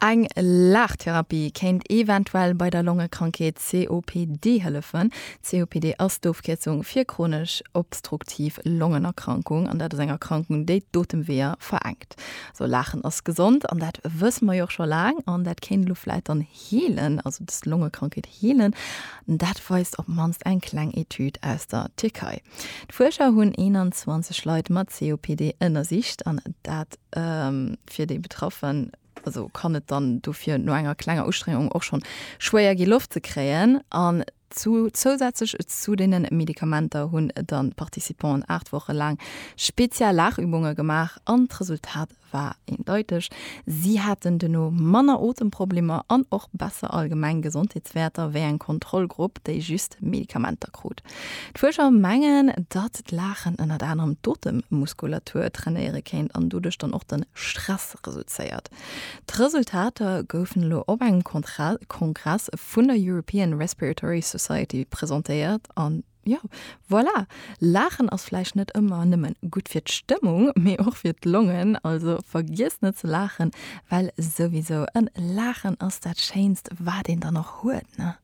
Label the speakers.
Speaker 1: Eng Laachtherapie kéint eventuell bei der Longekrankheet COPD hëllefen. COPD ass d'Ofkierzung fir chronesch obstruktiv Longenerkrankung an dat ass eng Erkrankung, déi d'Otemweeër verenkt. Also Laachen ass gesond an dat wësse mer jo och scho laang an dat kéint elo vläit dann heelen, also dës Longekrankheet heelen. Dat weist op d'mannst eng kleng Etüd aus der Tierkei. D'Fuerscher hunn 21 Leit mat COPD ënnersicht an dat fir déi Betraffen, also kann et dann dofir no enger klenger Ustrengung och schonn schwéier gi Loft ze kréien. An zu zousätzlech zu deene Medikamenter hunn dann d'Participanten 8 Woche laang speziell Laachübunge gemaach an d'Resultat war eendeiteg, Si haten duerno manner Otemproblemer an och besser allgemeng Gesondheetswäerter wéi eng Kontrollgrupp, déi just Medikamenter krut. D'Fuerscher mengen, datt d'Laachen ënnert anerem d'Otemmuskulatur trainéiere kéint an doduerch dann och de Stress reduzéiert. D'Resultater goufen elo op engem Kongress vun der European Respiratory Society presentéiert an Jo, voilà! Laachen ass vläicht net ëmmer nëmmen gutt fir d'Stëmmung, mee och fir d'Longen. Also vergiesst net ze laachen, well souwisou en Laachen ass dat Schéinst wat een dann och huet, ne?